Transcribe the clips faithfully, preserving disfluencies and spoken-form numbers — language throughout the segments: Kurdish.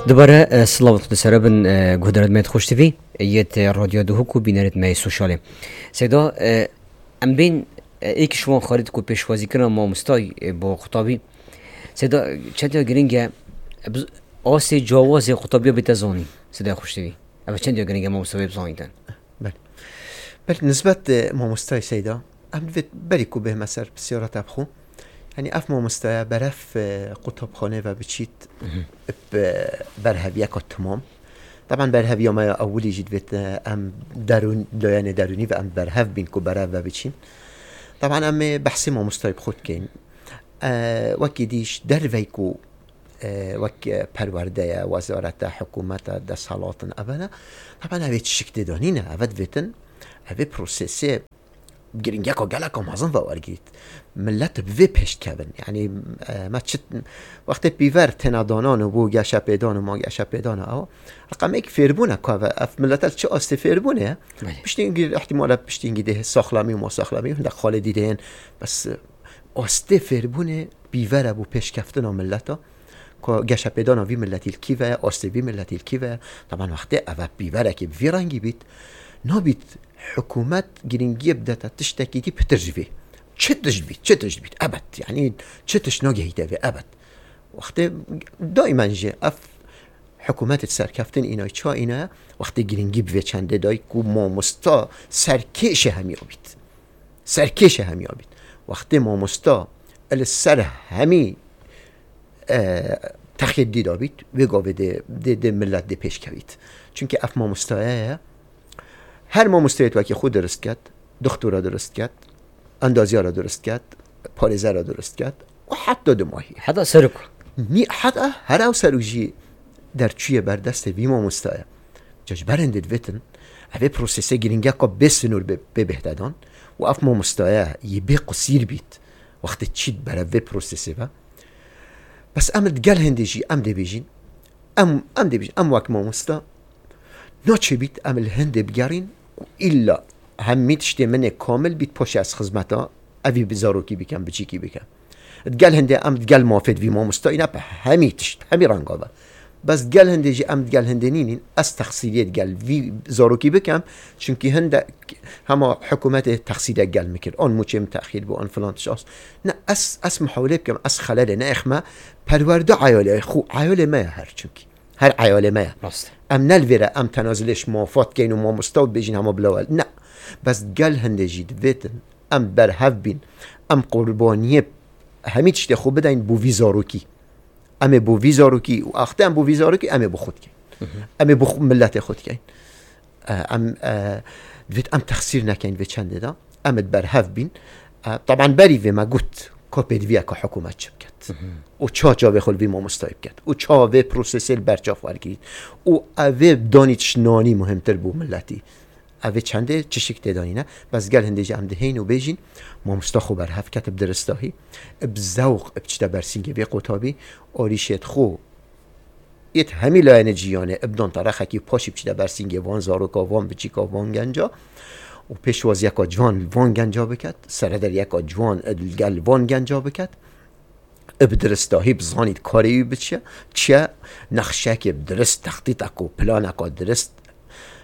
Dubare, e, silav li xwe sere bin, e, guhdarên me yê Xweş T V, yê te Radyo Duhok û bînerên me yê sosyalê. Seyda, e, em bên, e, êk ji wan xalît ku pêşwazîkirina mamostayî, e, bo qutabî. Seyda, çend ya giring e, e, bi-, asê cawazê qutabiya bête zanîn, Seyda Xweş T V. Ev çend ya giring e mamosta wê bizanîtin. Belê. Belê, nisbet, e, mamostayê Seyda, em divêt berî ku bêhme ser pisyara te bi xwe. Yanî ev mamostaya berev, e, qutabxanê ve biçît, Mhm. bi, e, berheviyeka timam. Taban berheviya me ya ewilî jî divêt, e, em derûn, layenê derûnî ve em berhev bîn ku berev ve biçîn. Taban em ê behsê mamostayê bi xwe dikeyn. E, wekî dî ji dervey ku, e, wek, e, perwerde ye, wezarete, hikûmete, desthilatin, ev ne. Taban ev ê tişik tê de nîne, ev divêtin, ev ê prosesê giringiyeka geleka mezin ve wergirît. Millet bi vê pêş dikevin. Yanî, e, me çi, wextê pîver têne danan û bû geşepêdan û ma geşepêdana ew. Reqemêk fêrbûne ku ev, ev millet li çi astê fêrbûne ye? Belê. Piştî hingî, ihtimale piştî hingî dê saxlemî û masaxlemî, hindek xalê dî dê yên. Bes, e, astê fêrbûnê pîver e bo pêşkeftina milleta. Ku geşepêdana vî milletî li kî ve ye, astê vî milletî li kî ve ye. Taban wextê ev e pîverekê bi vî rengî bît, nabît hikûmet giringiyê bidete tiştekî dî pitir ji vê. Çi tişt bît, çi tişt bît, ebed. Yanî çi tişt nagehîte vê, ebed. Wextê daîmen jî ev hikûmetê serkeftin îna, ça îna ye, wextê giringî bi vê çendê dayî ku mamosta serkêşê hemiya bît. Serkêşê hemiya bît. Wextê mamosta li ser hemî, e, texê dî de bît, wê gavê dê, dê, dê millet dê pêş kevît. Çimkî ev mamostaya ye. Her mamostayê wekî xwe dirist ket, doktora dirist ket, endazyara dirist ket, parêzera dirist ket û heta dumahî. Heta serok. Nî, heta her ew serok jî derçûye ber destê vî mamostaya. Ca ji ber hindê divêtin, ev ê prosesê giringeka bê sinûr bê, bê bêhte dan û ev mamostaya yê bê qusîr bît, wextê çît berev vê prosesê ve. Bes em li gel hindê jî em dê bêjin, em, em dê bêjin, em wek mamosta naçêbît em li hindê bigerîn ku îlla hemî tiştê min ê kamil bît, paşê ez xizmeta evî bi zarokî bikem, biçîkî bikem. Digel hindê em digel mafê di vî mamostayî ne bi hemî tişt, hemî renga ve. Bes digel hindê jî em digel hindê nînîn, ez texsîriyê digel vî zarokî bikem, çimkî hindek hema hikûmetê texsîrek gel min kir. An mûçê min texîr bû, an filan tişt as. Ne, ez, ez mihawilê bikim, ez xelerê neêxme, perwerde eyalê xwe, eyalê me ye her çimkî. Her eyalê me ye. Rast. Em ne li vêre em tenazilê ji mafat keyn û mamosta û dibêjin hema bila wel. Ne. Bes gel hindê jî divêtin. Em berhev bîn. Em qurbaniyê hemî tiştê xwe bideyn bo vî zarokî. Em ê bo vî zarokî û axte em bo vî zarokî em ê bo xwe dikeyn. Mhm. Em ê bo xwe, miletê xwe dikeyn. E, em, e, divêt em texsîr nekeyn vê çendê de. Em ê berhev bîn. E, taban berî vê me got, ka pêdiviyeke hikûmet çi biket. Mhm. Û ça çavê xwe li vî mamostayê biket. Û ça vê prosesê li ber çav wergirît. Û ev ê danî tişt nanî muhimtir bû miletî. Ev ê çendê çişik tê danîne. Bes gel hindê jî em dihên û bêjîn, mamosta xwe berhev ket bi diristahî, bi zewq, bi çite bersîngê vê qutabî, arîşêt xwe yêt hemî layene cîyanê, bi dan terexekî paşî bi çite bersîngê van zaroka, van biçîka, van genca û pêşwaziyeka ciwan li van genca biket, serederiyeka ciwan li gel van genca biket. Bi diristahî bizanît karê wî bi çi ye, çi ye, nexşekê bi dirist, textîtek û planeka dirist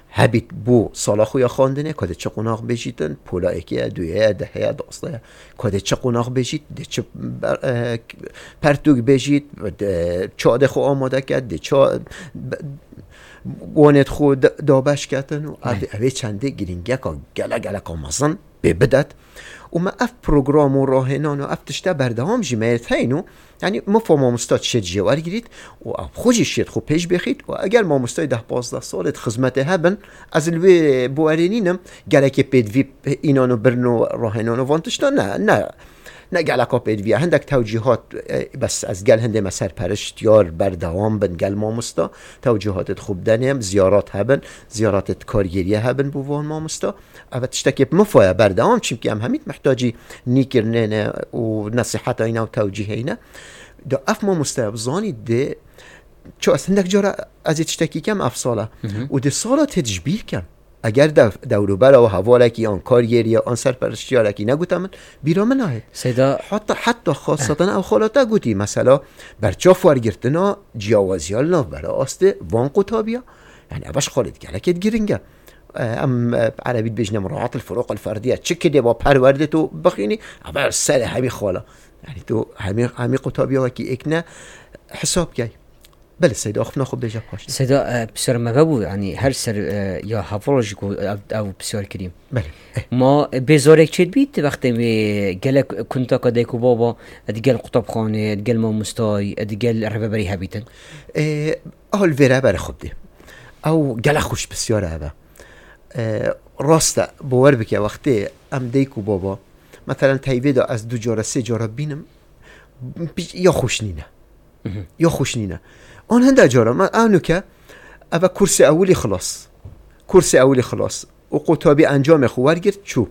hebît bo sala xwe ya xwendinê, ka dê çi qonax bêjîtin, pola êkê ye, duyê ye, dehê ye, dastê ye, ka dê çi qonax bêjît, dê çi ber-, e, pertûk bêjît, dê ça dê xwe amade ket, dê ça be-, wanêt xwe da-, dabeş ketin û ev, Belê. ev ê çendê giringiyeka gele geleka mezin pê bidet. Û me ev program û rahênan û ev tişte berdewam jî me yê heyn û, yanî mifa mamosta şêt jê wergirît û ew xwe jî şêt xwe pêş bêxît û eger mamostayê deh pazdeh salê di xizmetê hebin, ez li wê bawerê nînim, gerekê pêdivî înan û birin û rahênan û van tiştan ne, ne, ne geleka pêdivî ye. Hindek tewcîhat, e, bes ez gel hindê me serperişt, yar berdewam bin gel mamosta, tewcîhatê xwe bidenê, ziyarat hebin, ziyaratê kargêriyê hebin bo van mamosta. Ev tiştekê bi mifa ye berdewam, çimkî em hemî mihtacî nîkirinê ne û nesîheta îne û tewcîhê îne. De ev mamosteya bizanî dê, ço ez hindek cara ez ê tiştekî kem ev sala. Mhm. Û dê sala tê ji bîr kem. Eger dev, dewrûbera û hevalekî an kargêrî ya an serperiştiyarekî negute min, bîra min nayê. Seyda, Heta, heta xaseten ew xalata gotî, mesela, berçav wergirtina ciyawaziya li navbera astê van qutabî ya. Yani ev ji xalê gelekê giring e. E, em, e, erebî dibêjine muraat el furuq el ferdiye. Çi kidê va perwerdê tu bixînî, ev ser hemî xala. Yani tu hemî, hemî qutabîya wekî êk ne hesab key. Belê, Seyda, axiftina xwe bêje paşê. Seyda, e, pisyar me vebû, yani her ser, e, ya heval jî ku ev, ev pisyar kirî. Belê. Ma, e, bêzarek çêdibît wextê wê gelek kuntaka dayk û baba, e, digel qutabxanê, e, digel mamostayî, e, digel rêveberî hebîtin. E, Hal vêre berê xwe bidê. Ew gelek xweş pisyar e eve. E, rast e, bawer bike wextê em dayk û baba, meselen teyvê de ez du cara, sê cara bînim, ya xweş nîne. Ya xweş nîne. An hinde cara, me, ew nuke, eve kursê ewilî xilas. Kursê ewilî xilas. Û qutabî encamê xwe wergirt, çû.